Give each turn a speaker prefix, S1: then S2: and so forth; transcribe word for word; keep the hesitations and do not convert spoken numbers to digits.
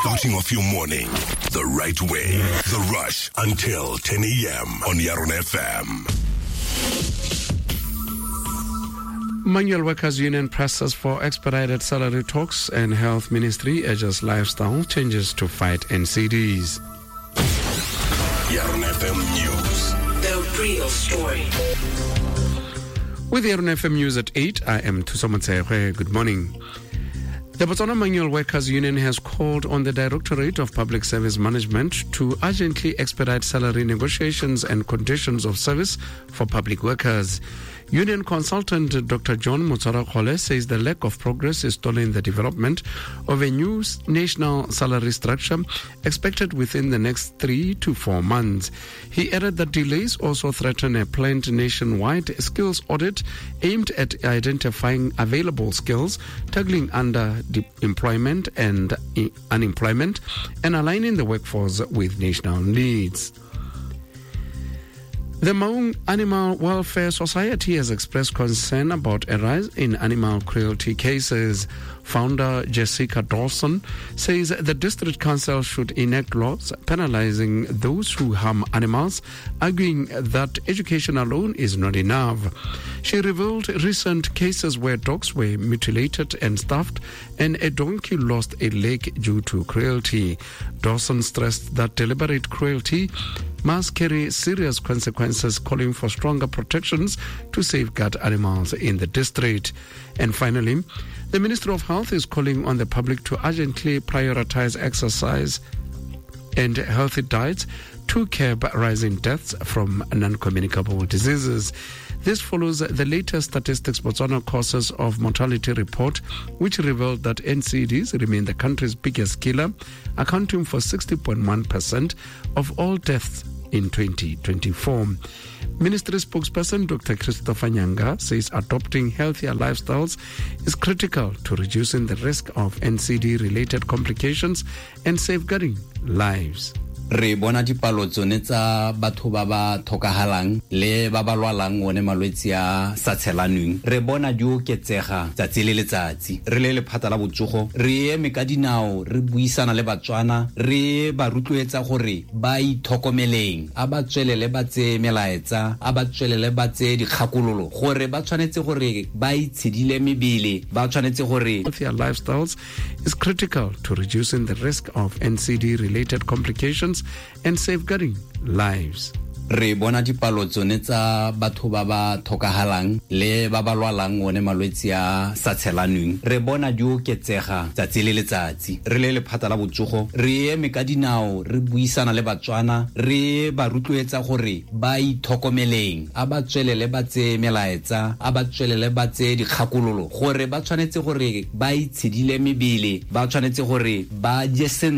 S1: Starting off your morning the right way. The Rush until ten a m on Yarona F M.
S2: Manual Workers Union presses for expedited salary talks and Health Ministry urges lifestyle changes to fight N C Ds.
S1: Yarona F M News.
S3: The real story.
S2: With the Yarona F M News at eight, I am Thuso Motshegwe. Good morning. The Botswana Manual Workers Union has called on the Directorate of Public Service Management to urgently expedite salary negotiations and conditions of service for public workers. Union consultant Doctor John Motshwarakgole says the lack of progress is stalling the development of a new national salary structure expected within the next three to four months. He added that delays also threaten a planned nationwide skills audit aimed at identifying available skills, tackling underemployment and unemployment, and aligning the workforce with national needs. The Maun Animal Welfare Society has expressed concern about a rise in animal cruelty cases. Founder Jessica Dawson says the district council should enact laws penalizing those who harm animals, arguing that education alone is not enough. She revealed recent cases where dogs were mutilated and stuffed, and a donkey lost a leg due to cruelty. Dawson stressed that deliberate cruelty must carry serious consequences, calling for stronger protections to safeguard animals in the district. And finally, the Ministry of Health is calling on the public to urgently prioritize exercise and healthy diets to curb rising deaths from non-communicable diseases. This follows the latest Statistics Botswana Causes of Mortality report, which revealed that N C Ds remain the country's biggest killer, accounting for sixty point one percent of all deaths in twenty twenty-four. Ministry spokesperson Doctor Christopher Nyanga says adopting healthier lifestyles is critical to reducing the risk of N C D-related complications and safeguarding lives.
S4: Re bona dipalo tsone tsa batho ba ba tlhokagalang le ba ba lwalang one malwetse a sa tshelanweng, re bona di oketsega tsatsi le letsatsi. Re le lephata la botsogo re eme ka dinao, re buisana le Batswana, re ba rotloetsa gore ba itlhokomeleng, a ba tswelele ba tseye melaetsa, a ba tswelele ba tseye dikgakololo gore ba tshwanetse gore ba itshedile mebele, ba tshwanetse gore
S2: Healthier lifestyles is critical to reducing the risk of N C D-related complications and safeguarding lives.
S4: Re bona dipalo tsone tsa batho ba ba tlhokagalang le ba ba lwalang one malwetse a sa tshelanweng, re bona di oketsega tsatsi le letsatsi. Re le lephata la botsogo re eme ka dinao, re buisana le Batswana, re ba rotloetsa gore ba itlhokomeleng, a ba tswelele ba tseye melaetsa, a ba tswelele ba tseye dikgakololo gore ba tshwanetse gore ba itshedile mebele, ba tshwanetse gore ba je sentle.